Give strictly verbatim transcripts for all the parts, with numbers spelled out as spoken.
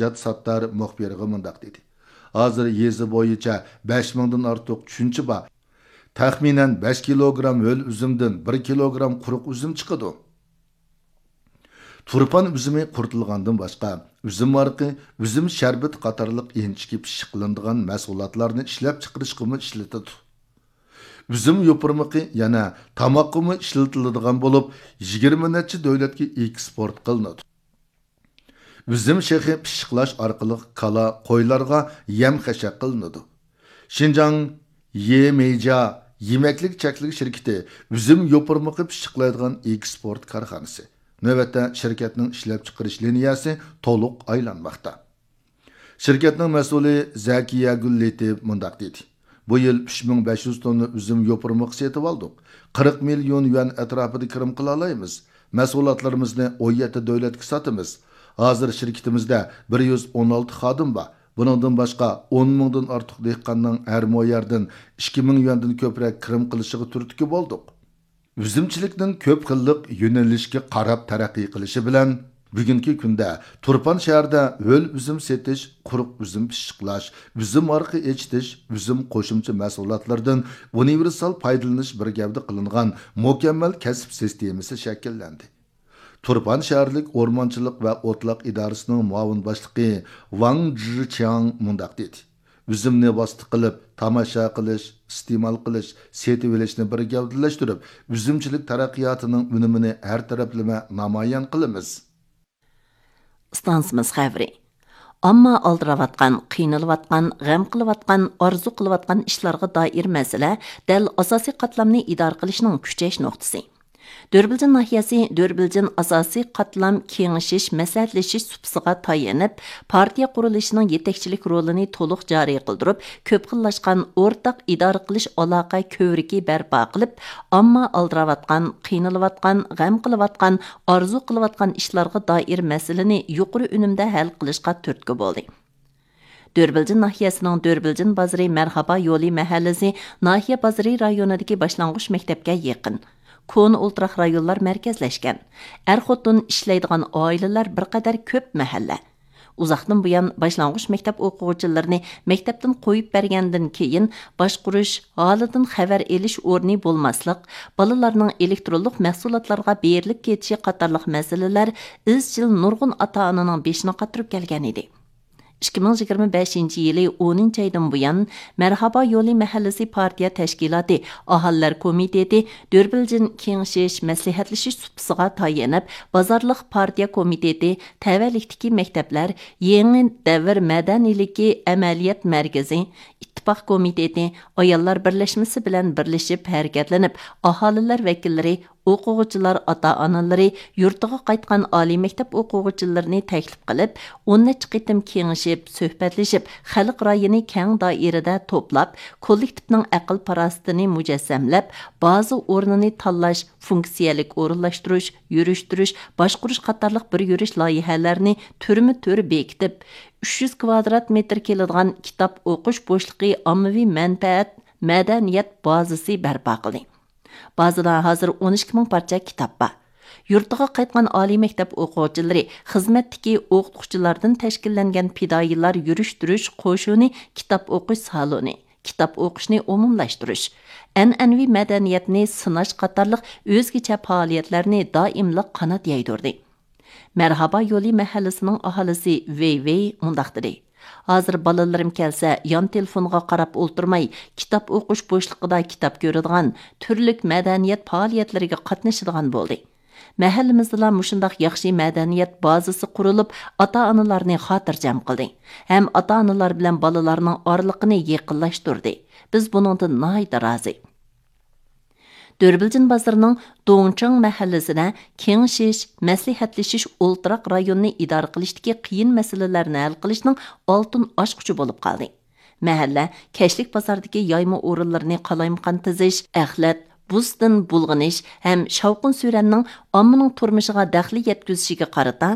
نىجات ساتتار مۇخبىرغا مۇنداق دېدى: ھازىر يېزا بويىچە بەش مىڭدىن ئارتۇق چۈنچە بار. تەخمىنەن بەش كىلوگرام ھۆل ئۈزۈمدىن بىر كىلوگرام قۇرۇق ئۈزۈم چىقىدۇ. تۇرپان ئۈزۈمى قۇرۇتۇلغاندىن باشقا، ئۈزۈم ھارىقى، ئۈزۈم شەربىتى قاتارلىق ئىنچىكە پىششىقلىنىدىغان مەھسۇلاتلارنى ئىشلەپچىقىرىشقىمۇ ئىشلىتىدۇ. ئۈزۈم يوپۇرمىقى يەنە تاماققىمۇ ئىشلىتىلىدىغان بولۇپ، يىگىرمە نەچچە دۆلەتكە ئېكسپورت قىلىنىدۇ. ئۈزۈم شېخى پىششىقلاش ئارقىلىق كالا، قويلارغا يەم خەشەك قىلىنىدۇ. شىنجاڭ يېمېيجيا يېمەكلىك چەكلىك شىركىتى ئۈزۈم يوپۇرمىقى پىششىقلايدىغان ئېكسپورت كارخانىسى. نۆۋەتتە شىركەتنىڭ ئىشلەپچىقىرىش لىنىيەسى تولۇق ئايلانماقتا. شىركەتنىڭ مەسئۇلى زەكىيەگۈل لېتىپ مۇنداق دېدى: بۇ يىل ئۈچ مىڭ بەش يۈز توننا ئۈزۈم يوپۇرمىقى سېتىۋالدۇق. قىرىق مىليون يۈەن ئەتراپىدا كىرىم قىلالايمىز. مەھسۇلاتلىرىمىزنى ئون يەتتە دۆلەتكە ساتىمىز. ھازىر شىركىتىمىزدە بىر يۈز ئون ئالتە خادىم بار. بۇنىڭدىن باشقا، ئون مىڭدىن ئارتۇق دېھقاننىڭ ھەر مو يەردىن ئىككى مىڭ يۈەندىن كۆپرەك كىرىم قىلىشىغا تۈرتكە بولدۇق. ئۈزۈمچىلىكنىڭ كۆپ خىللىق يۆنىلىشكە قاراپ تەرەققىي قىلىشى بىلەن، بۈگۈنكى كۈندە تۇرپان شەھىرىدە ھۆل ئۈزۈم سېتىش، قۇرۇق ئۈزۈم پىششىقلاش، ئۈزۈم ھارىقى ئېچىتىش، ئۈزۈم قوشۇمچە مەھسۇلاتلىرىدىن ئۇنىۋېرسال پايدىلىنىش بىر گەۋدە قىلىنغان مۇكەممەل كەسىپ سىستېمىسى شەكىللەندى. تۇرپان شەھەرلىك ئورمانچىلىق ۋە ئوتلاق ئىدارىسىنىڭ مۇئاۋىن باشلىقى ۋاڭ جىچياڭ مۇنداق دېدى: ئۈزۈمنى ۋاسىتە قىلىپ تاماشا قىلىش، ئىستېمال قىلىش، سېتىۋېلىشنى بىر گەۋدىلەشتۈرۈپ، ئۈزۈمچىلىك تەرەققىياتىنىڭ ئۈنۈمىنى ھەر تەرەپلىمە نامايان قىلىمىز. ئىستانسىمىز خەۋىرى. ئامما ئالدىراۋاتقان، قىينىلىۋاتقان، غەم قىلىۋاتقان، ئارزۇ قىلىۋاتقان ئىشلارغا دائىر مەسىلە دەل ئاساسىي قاتلامنى ئىدارە قىلىشنىڭ كۈچەش نۇقتىسى. دۆربىلجىن ناھىيەسى دۆربىلجىن ئاساسىي قاتلام كېڭىشىش، مەسلىھەتلىشىش سۇپىسىغا تايىنىپ، پارتىيە قۇرۇلۇشىنىڭ يېتەكچىلىك رولىنى تولۇق جارى قىلدۇرۇپ، كۆپ خىللاشقان ئورتاق ئىدارە قىلىش ئالاقە كۆۋرۈكى بەرپا قىلىپ، ئامما ئالدىراۋاتقان، قىينىلىۋاتقان، غەم قىلىۋاتقان، ئارزۇ قىلىۋاتقان ئىشلارغا دائىر مەسىلىنى يۇقىرى ئۈنۈمدە ھەل قىلىشقا تۈرتكە بولدى. دۆربىلجىن ناھىيەسىنىڭ دۆربىلجىن بازىرى مەرھابا يولى مەھەللىسى ناھىيە بازىرى رايونىدىكى باشلانغۇچ مەكتەپكە يېقىن. كونا ئولتۇراق رايونلار مەركەزلەشكەن. ئەر-خوتۇن ئىشلەيدىغان ئائىلىلەر بىر قەدەر كۆپ مەھەللە. ئۇزاقتىن بۇيان باشلانغۇچ مەكتەپ ئوقۇغۇچىلىرىنى مەكتەپتىن قويۇپ بەرگەندىن كېيىن، باشقۇرۇش، ھالىدىن خەۋەر ئېلىش ئورنى بولماسلىق، بالىلارنىڭ ئېلېكترونلۇق مەھسۇلاتلارغا بېرىلىپ كېتىشى قاتارلىق مەسىلىلەر ئىزچىل نۇرغۇن ئاتا-ئانىنىڭ بېشىنى قاتۇرۇپ كەلگەن ئىدى. ئىككى مىڭ يىگىرمە بەشىنچى يىلى ئونىنچى ئايدىن بۇيان، مەرھابا يولى مەھەللىسى پارتىيە تەشكىلاتى ئاھالىلەر كومىتېتى دۆربىلجىن كېڭىشىش، مەسلىھەتلىشىش سۇپىسىغا تايىنىپ، بازارلىق پارتىيە كومىتېتى، تەۋەلىكتىكى مەكتەپلەر، يېڭى دەۋر مەدەنىيلىكى ئەمەلىيەت مەركىزى، ئىتتىپاق كومىتېتى، ئاياللار بىرلەشمىسى بىلەن بىرلىشىپ ھەرىكەتلىنىپ، ئاھالىلەر ۋەكىللىرى، ئوقۇغۇچىلار ئاتا-ئانىلىرى، يۇرتىغا قايتقان ئالىي مەكتەپ ئوقۇغۇچىلىرىنى تەكلىپ قىلىپ، ئون نەچچە قېتىم كېڭىشىپ، سۆھبەتلىشىپ، خەلق رايىنى كەڭ دائىرىدە توپلاپ، كوللېكتىپنىڭ ئەقىل-پاراسىتىنى مۇجەسسەملەپ، بازا ئورنىنى تاللاش، فۇنكسىيەلىك ئورۇنلاشتۇرۇش، يۈرۈشتۈرۈش، باشقۇرۇش قاتارلىق بىر يۈرۈش لايىھەلەرنى تۈرمە تۈر بېكىتىپ، ئۈچ يۈز كۋادرات مېتىر كېلىدىغان كىتاب ئوقۇش بوشلۇقى ئاممىۋى مەنپەئەت مەدەنىيەت بازىسى بەرپا قىلدى. بازىدا ھازىر ئون ئىككى مىڭ پارچە كىتاب بار. يۇرتىغا قايتقان ئالىي مەكتەپ ئوقۇغۇچىلىرى، خىزمەتتىكى ئوقۇتقۇچىلاردىن تەشكىللەنگەن پىدائىيلار يۈرۈشتۈرۈش قوشۇنى، كىتاب ئوقۇش سالونى، كىتاب ئوقۇشنى ئومۇملاشتۇرۇش، ئەنئەنىۋى مەدەنىيەتنى سىناش قاتارلىق ئۆزگىچە پائالىيەتلەرنى دائىملىق قانات يايدۇردى. مەرھابا يولى مەھەللىسىنىڭ ئاھالىسى ۋېي ۋېي مۇنداق دېدى: ھازىر بالىلىرىم كەلسە، يان تېلېفونغا قاراپ ئولتۇرماي، كىتاب ئوقۇش بوشلۇقىدا كىتاب كۆرىدىغان، تۈرلۈك مەدەنىيەت پائالىيەتلىرىگە قاتنىشىدىغان بولدى. مەھەللىمىزدىلا مۇشۇنداق ياخشى مەدەنىيەت بازىسى قۇرۇلۇپ، ئاتا-ئانىلارنى خاتىرجەم قىلدى ھەم ئاتا-ئانىلار بىلەن بالىلارنىڭ ئارىلىقىنى يېقىنلاشتۇردى. بىز بۇنىڭدىن ناھايىتى رازى. دۆربىلجىن بازىرىنىڭ دوڭچىڭ مەھەللىسىدە كېڭىشىش، مەسلىھەتلىشىش ئولتۇراق رايونىنى ئىدارە قىلىشتىكى قىيىن مەسىلىلەرنى ھەل قىلىشنىڭ ئالتۇن ئاچقۇچى بولۇپ قالدى. مەھەللە كەچلىك بازاردىكى يايما ئورۇنلىرىنى قالايمىقان تىزىش، ئەخلەت، بۇستىن بۇلغىنىش ھەم شاۋقۇن سۈرەننىڭ ئاممىنىڭ تۇرمۇشىغا دەخلى يەتكۈزۈشىگە قارىتا،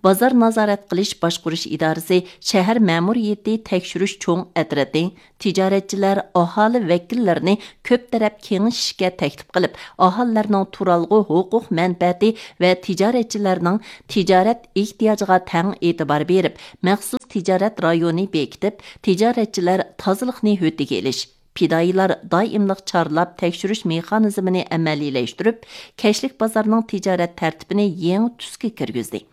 بازار نازارەت قىلىش باشقۇرۇش ئىدارىسى شەھەر مەمۇرىيىتى تەكشۈرۈش چوڭ ئەترىتى، تىجارەتچىلەر، ئاھالە ۋەكىللىرىنى كۆپ تەرەپ كېڭىشىشكە تەكلىپ قىلىپ، ئاھالىلەرنىڭ تۇرالغۇ ھوقۇق مەنپەئەتى ۋە تىجارەتچىلەرنىڭ تىجارەت ئېھتىياجىغا تەڭ ئېتىبار بېرىپ، مەخسۇس تىجارەت رايونى بېكىتىپ، تىجارەتچىلەر تازىلىقنى ھۆددىگە ئېلىش، پىدائىيلار دائىملىق چارلاپ تەكشۈرۈش مېخانىزمىنى ئەمەلىيلەشتۈرۈپ، كەچلىك بازارنىڭ تىجارەت تەرتىپىنى يېڭى تۈسكە كىرگۈزدى.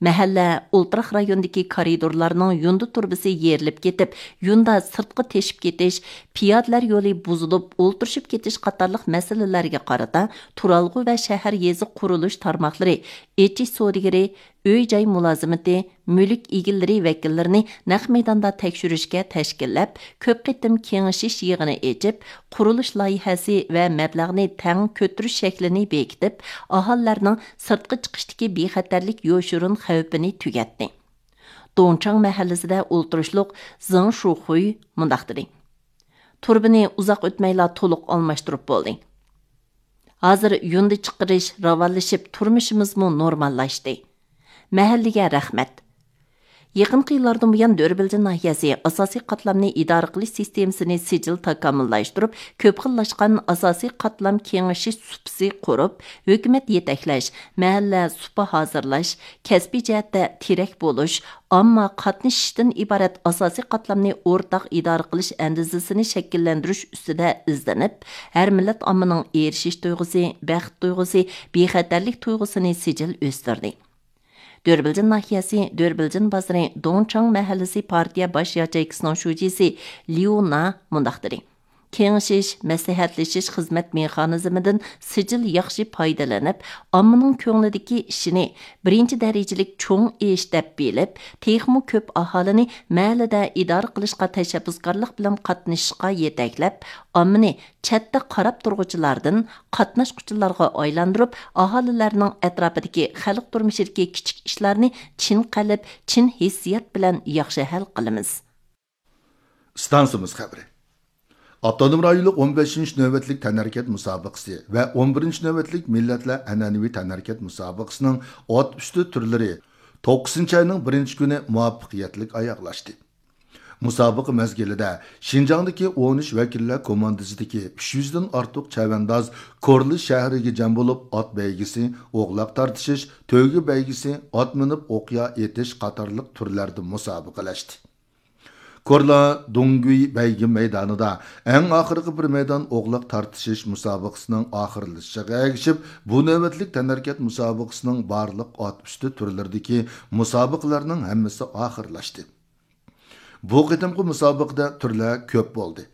مەھەللە، ئولتۇراق رايوندىكى كارىدورلارنىڭ يۇندا تۇرۇبىسى يېرىلىپ كېتىپ، يۇندا سىرتقا تېشىپ كېتىش، پىيادىلەر يولى بۇزۇلۇپ ئولتۇرۇشۇپ كېتىش قاتارلىق مەسىلىلەرگە قارىتا، تۇرالغۇ ۋە شەھەر يېزا قۇرۇلۇش تارماقلىرى، ئېچىش سودىگىرى، ئۆي-جاي مۇلازىمىتى، مۈلۈك ئىگىلىرى ۋەكىللىرىنى نەق مەيداندا تەكشۈرۈشكە تەشكىللەپ، كۆپ قېتىم كېڭىشىش يىغىنى ئېچىپ، قۇرۇلۇش لايىھەسى ۋە مەبلەغنى تەڭ كۆتۈرۈش شەكلىنى بېكىتىپ، ئاھالىلەرنىڭ سىرتقا چىقىشتىكى بىخەتەرلىك يوشۇرۇن خەۋپىنى تۈگەتتى. دۇڭچاڭ مەھەللىسىدە ئولتۇرۇشلۇق زېڭ شۇخۇي مۇنداق دېدى: تۇرۇبىنى ئۇزاق ئۆتمەيلا تولۇق ئالماشتۇرۇپ بولدى. ھازىر يۇندى چىقىرىش راۋانلىشىپ، تۇرمۇشىمىزمۇ نورماللاشتى. مەھەللىگە رەھمەت. يېقىنقى يىللاردىن بۇيان، دۆربىلجىن ناھىيەسى ئاساسىي قاتلامنى ئىدارە قىلىش سىستېمىسىنى سىجىل تاكامۇللاشتۇرۇپ، كۆپ خىللاشقان ئاساسىي قاتلام كېڭىشىش سۇپىسى قۇرۇپ، ھۆكۈمەت يېتەكلەش، مەھەللە سۇپا ھازىرلاش، كەسپىي جەھەتتە تىرەك بولۇش، ئامما قاتنىشىشتىن ئىبارەت ئاساسىي قاتلامنى ئورتاق ئىدارە قىلىش ئەندىزىسىنى شەكىللەندۈرۈش ئۈستىدە ئىزدىنىپ، ھەر مىللەت ئاممىنىڭ ئېرىشىش تۇيغۇسى، بەخت تۇيغۇسى، بىخەتەرلىك تۇيغۇسىنى سىجىل ئۆستۈردى. دۆربىلجىن ناھىيەسى دۆربىلجىن بازىرى دۇڭچاڭ مەھەللىسى پارتىيە باش ياچېيكىسىنىڭ شۇجىسى ليۇ نا مۇنداق دېدى: كېڭىشىش، مەسلىھەتلىشىش خىزمەت مېخانىزمىدىن سىجىل ياخشى پايدىلىنىپ، ئاممىنىڭ كۆڭلىدىكى ئىشىنى بىرىنچى دەرىجىلىك چوڭ ئىش دەپ بىلىپ، تېخىمۇ كۆپ ئاھالىنى مەھەللىدە ئىدارە قىلىشقا تەشەببۇسكارلىق بىلەن قاتنىشىشقا يېتەكلەپ، ئاممىنى چەتتە قاراپ تۇرغۇچىلاردىن قاتناشقۇچىلارغا ئايلاندۇرۇپ، ئاھالىلەرنىڭ ئەتراپىدىكى خەلق تۇرمۇشىدىكى كىچىك ئىشلارنى چىن قەلب، چىن ھېسسىيات بىلەن ياخشى ھەل قىلىمىز. ئىستانسىمىز خەۋىرى. ئاپتونوم رايونلۇق ئون بەشىنچى نۆۋەتلىك تەنھەرىكەت مۇسابىقىسى ۋە ئون بىرىنچى نۆۋەتلىك مىللەتلەر ئەنئەنىۋى تەنھەرىكەت مۇسابىقىسىنىڭ ئات ئۈستى تۈرلىرى توققۇزىنچى ئاينىڭ بىرىنچى كۈنى مۇۋەپپەقىيەتلىك ئاياغلاشتى. مۇسابىقە مەزگىلىدە شىنجاڭدىكى ئون ئۈچ ۋەكىللەر كوماندىسىدىكى ئۈچ يۈزدىن ئارتۇق چەۋەنداز كورلا شەھىرىگە جەم بولۇپ، ئات بەيگىسى، ئوغلاق تارتىشىش، تۆگە بەيگىسى، ئات مىنىپ ئوقيا ئېتىش قاتارلىق تۈرلەردە مۇسابىقىلەشتى. كورلا دۇڭگۈي بەيگە مەيدانىدا ئەڭ ئاخىرقى بىر مەيدان ئوغلاق تارتىشىش مۇسابىقىسىنىڭ ئاخىرلىشىشىغا ئەگىشىپ، بۇ نۆۋەتلىك تەنھەرىكەت مۇسابىقىسىنىڭ بارلىق ئات ئۈستى تۈرلىرىدىكى مۇسابىقىلەرنىڭ ھەممىسى ئاخىرلاشتى. بۇ قېتىمقى مۇسابىقىدە تۈرلەر كۆپ بولدى.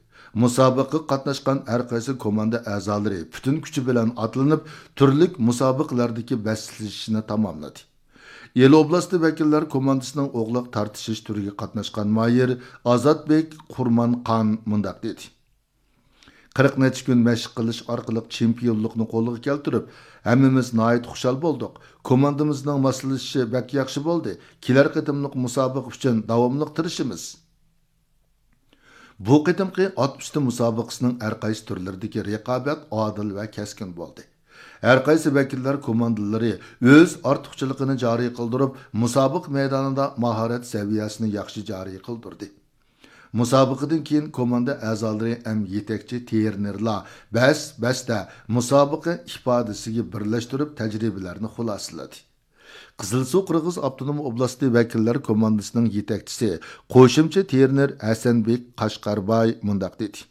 مۇسابىقىگە قاتناشقان ھەر قايسى كوماندا ئەزالىرى پۈتۈن كۈچى بىلەن ئاتلىنىپ، تۈرلۈك مۇسابىقىلەردىكى بەسلىشىشنى تاماملىدى. ئىلى ئوبلاستى ۋەكىللەر كوماندىسىنىڭ ئوغلاق تارتىشىش تۈرىگە قاتناشقان ماھىر ئازاتبېك قۇرمانخان مۇنداق دېدى: قىرىق نەچچە كۈن مەشىق قىلىش ئارقىلىق چېمپىيونلۇقنى قولغا كەلتۈرۈپ، ھەممىمىز ناھايىتى خۇشال بولدۇق. كوماندىمىزنىڭ ماسلىشىشى بەك ياخشى بولدى. كېلەر قېتىملىق مۇسابىقە ئۈچۈن داۋاملىق تىرىشىمىز. بۇ قېتىمقى ئات ئۈستى مۇسابىقىسىنىڭ ھەر قايسى تۈرلىرىدىكى رىقابەت ئادىل ۋە كەسكىن بولدى. ھەر قايسى ۋەكىللەر كوماندىلىرى ئۆز ئارتۇقچىلىقىنى جارى قىلدۇرۇپ، مۇسابىقە مەيدانىدا ماھارەت سەۋىيەسىنى ياخشى جارى قىلدۇردى. مۇسابىقىدىن كېيىن كوماندا ئەزالىرى ھەم يېتەكچى ترېنېرلار بەس-بەستە مۇسابىقە ئىپادىسىگە بىرلەشتۈرۈپ تەجرىبىلەرنى خۇلاسىلىدى. قىزىلسۇ قىرغىز ئاپتونوم ئوبلاستى ۋەكىللەر كوماندىسىنىڭ يېتەكچىسى، قوشۇمچە ترېنېر ھەسەنبېك قەشقەرباي مۇنداق دېدى: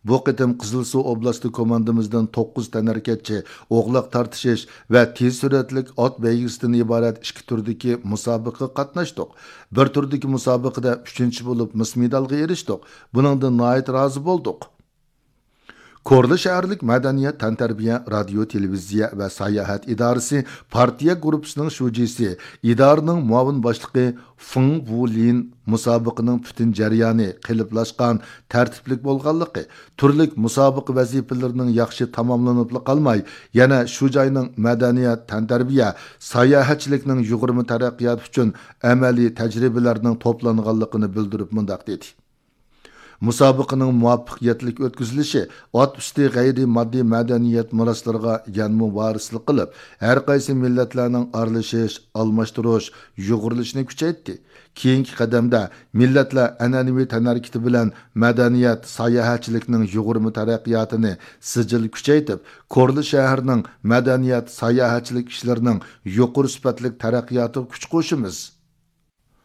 بۇ قېتىم قىزىلسۇ ئوبلاستى كوماندىمىزدىن توققۇز تەنھەرىكەتچى ئوغلاق تارتىشىش ۋە تېز سۈرئەتلىك ئات بەيگىسىدىن ئىبارەت ئىككى تۈردىكى مۇسابىقىگە قاتناشتۇق. بىر تۈردىكى مۇسابىقىدە ئۈچىنچى بولۇپ، مىس مېدالغا ئېرىشتۇق. بۇنىڭدىن ناھايىتى رازى بولدۇق. كورلا شەھەرلىك مەدەنىيەت، تەنتەربىيە، رادىيو، تېلېۋىزىيە ۋە ساياھەت ئىدارىسى پارتىيە گۇرۇپپىسىنىڭ شۇجىسى، ئىدارىنىڭ مۇئاۋىن باشلىقى فېڭ ۋۇلىن مۇسابىقىنىڭ پۈتۈن جەريانى قېلىپلاشقان، تەرتىپلىك بولغانلىقى، تۈرلۈك مۇسابىقە ۋەزىپىلىرىنىڭ ياخشى تاماملىنىپلا قالماي، يەنە شۇ جاينىڭ مەدەنىيەت، تەنتەربىيە، ساياھەتچىلىكنىڭ يۇغۇرما تەرەققىياتى ئۈچۈن ئەمەلىي تەجرىبىلەرنىڭ توپلانغانلىقىنى بىلدۈرۈپ مۇنداق دېدى: مۇسابىقىنىڭ مۇۋەپپەقىيەتلىك ئۆتكۈزۈلۈشى ئات ئۈستى غەيرىي ماددىي مەدەنىيەت مىراسلىرىغا يەنىمۇ ۋارىسلىق قىلىپ، ھەر قايسى مىللەتلەرنىڭ ئارىلىشىش، ئالماشتۇرۇش، يۇغۇرۇلۇشىنى كۈچەيتتى. كېيىنكى قەدەمدە مىللەتلەر ئەنئەنىۋى تەنھەرىكىتى بىلەن مەدەنىيەت، ساياھەتچىلىكنىڭ يۇغۇرما تەرەققىياتىنى سىجىل كۈچەيتىپ، كورلا شەھىرىنىڭ مەدەنىيەت، ساياھەتچىلىك ئىشلىرىنىڭ يۇقىرى سۈپەتلىك تەرەققىياتىغا كۈچ قوشىمىز.